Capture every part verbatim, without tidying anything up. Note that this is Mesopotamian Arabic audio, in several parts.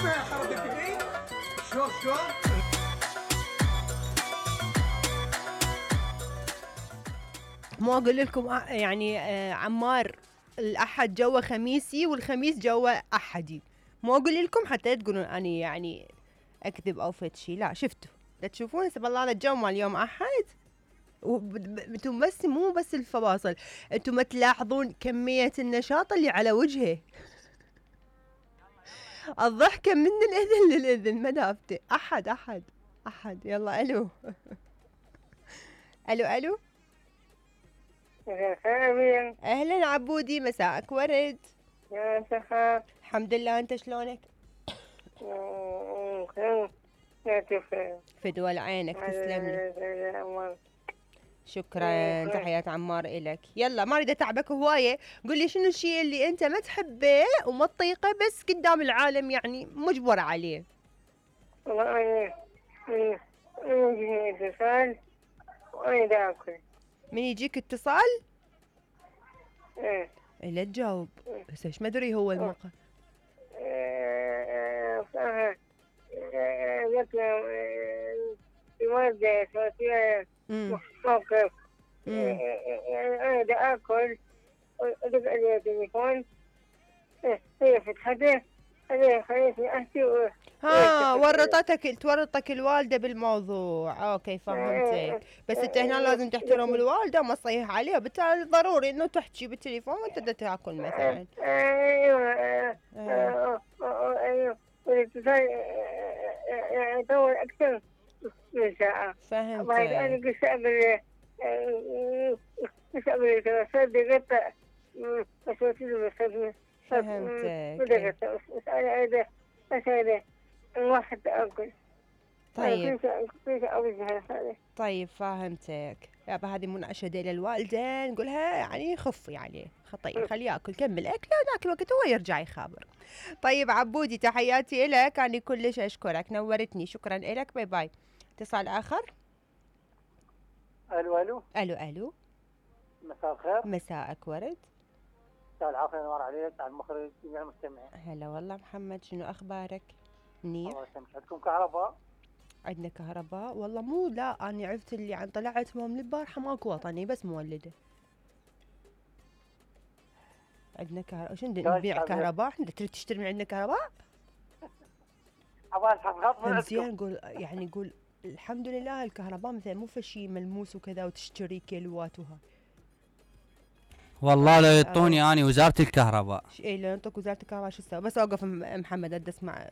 اسمع حركة الايد شلون شلون. مو اقول لكم يعني آه عمار الاحد جوا خميسي والخميس جوا احدي، مو اقول لكم حتى تقولون اني يعني اكذب او فد شي، لا شفتوا لا تشوفون سب الله الجو مال يوم احد. انتم بس مو بس الفواصل، انتم ما تلاحظون كمية النشاط اللي على وجهه الضحكة من الاذن للاذن ما دافته. احد احد احد يلا الو الو الو اهلا عبودي مساءك ورد. يا سخاء الحمد لله انت شلونك؟ فدوى عينك تسلم لي. شكرا تحيات عمار إلك. يلا ما اريد اتعبك هوايه، قل لي شنو الشيء اللي انت ما تحبه وما تطيقه بس قدام العالم يعني مجبر عليه. والله انا يجيني اتصال واريد اكل. من يجيك اتصال؟ ايه لا تجاوب بس ايش ما ادري هو الموقع. صح لك الوالدة صوتية موقف انا بدي اكل ودق علي التليفون هي فتحته هي خليتني احكي. ها ورطتك تورطك الوالدة بالموضوع. اوكي فهمتك، بس انت هنا لازم تحترم الوالدة وما تصيح عليها، بالتالي ضروري انه تحكي بالتليفون وانت بدك تاكل مثلا. ايوه ايوه والاتصال يطول اكثر من ساعة. فهمتك. بعد انا قلت قبل قلت قبل ثلاث دقائق بس وصلت بس فهمتك. بس انا اريد بس اريد واحد اكل. طيب طيب فهمتك. يابا هذه مناشدة للوالدة نقولها يعني خفي عليه خطيه خليه ياكل كمل اكله ذاك الوقت هو يرجع يخابر. طيب عبودي تحياتي لك، انا كلش اشكرك نورتني، شكرا لك باي باي. اتصال اخر. الو الو الو الو مساء الخير. مساءك ورد. مساء العافية نور عليك على المخرج جميع المستمعين. هلا والله محمد شنو اخبارك؟ منيح. الله يسلمك. عندكم كهرباء؟ عندنا كهرباء والله مو لا انا عرفت اللي عن طلعت من البارحه ماكو وطني بس مولده. عندنا كهرباء شنو نبيع كهرباء؟ احنا تريد تشتري من عندنا كهرباء؟ ابغى زين نقول يعني نقول الحمد لله الكهرباء مثلا مو فشي ملموس وكذا وتشتري كيلوات وها. والله لو يعطوني اني وزاره الكهرباء. اي لو يعطوك وزاره الكهرباء شو اسوي؟ بس اوقف محمد ادي اسمع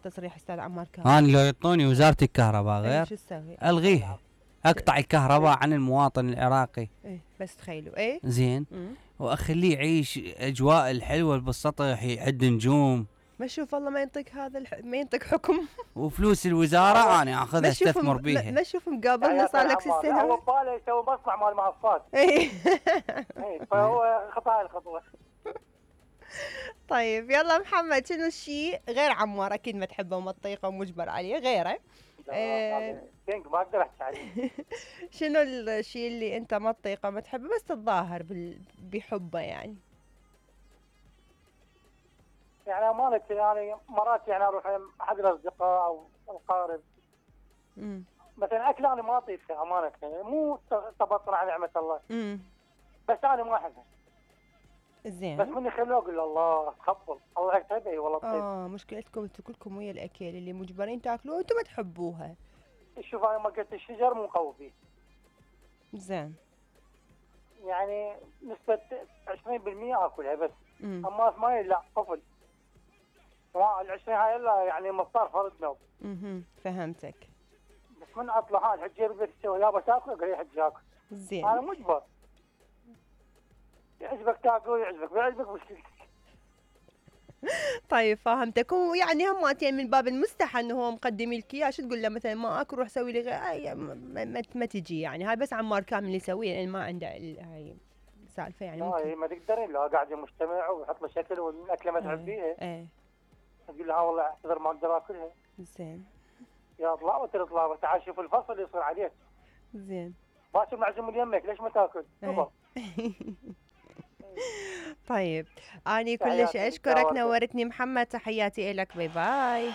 تصريح استاذ عمار كامل. انا لو يعطوني وزاره الكهرباء غير شو اسوي؟ الغيها اقطع الكهرباء عن المواطن العراقي. ايه بس تخيلوا ايه زين واخليه يعيش اجواء الحلوه بالسطح يعد نجوم. ما شوف والله ما ينطيك هذا الح... ما ينطيك حكم. وفلوس الوزاره انا اخذها استثمر بيها. ما شوف مقابلنا صار لك ست سنوات. هو باله يسوي مصنع مال منصات. اي فهو خطا الخطوه. طيب يلا محمد شنو الشيء غير عمار اكيد ما تحبه وما تطيقه ومجبر عليه غيره؟ ايه ما اقدر احكي عليه. شنو الشيء اللي انت ما تطيقه ما تحبه بس تتظاهر بال... بحبه يعني؟ يعني امانه يعني مرات يعني اروح احد الاصدقاء او الاقارب امم مثلا اكل انا ما اطيقها امانه يعني مو تبطل عن نعمه الله. امم بس انا ما احبها. زين بس من يخلوه اقول له الله تخبل الله يكتب اي والله طيب. اه مشكلتكم انتم كلكم ويا الاكل اللي مجبرين تاكلوه وانتم ما تحبوها. شوف انا ما قلت الشجر مو قوي فيه. زين يعني نسبه عشرين بالمئة اكلها بس. مم. اما ثمانية لا طفل. ال عشرين هاي الا يعني مفطر فرد نوم. اها فهمتك. بس من اطلع هاي الحجيه بدك تسوي يابا تاكل اقول لي حجي اكل. زين انا مجبر. يعجبك تاكل يعجبك ما يعجبك مشكلتك. طيب فهمتك. ويعني هماتين من باب المستحى انه هو مقدم لك اياه شو تقول له مثلا ما اكل روح سوي لي غير ما, ما, ما تجي يعني هاي بس عمار كامل اللي يسويها لان ما عنده هاي سالفه يعني ممكن. لا ما تقدرين لو قاعد مجتمع ويحط له شكل والاكله ما تحبيها. ايه تقول له ها والله اعتذر ما اقدر اكلها. زين يا اطلع وتطلع تعال شوف الفصل اللي يصير عليك. زين ما تشوف معزوم من يمك ليش ما تاكل؟ ايه. طيب اني كلش تحياتي، اشكرك، نورتك. نورتني محمد، تحياتي لك، باي باي.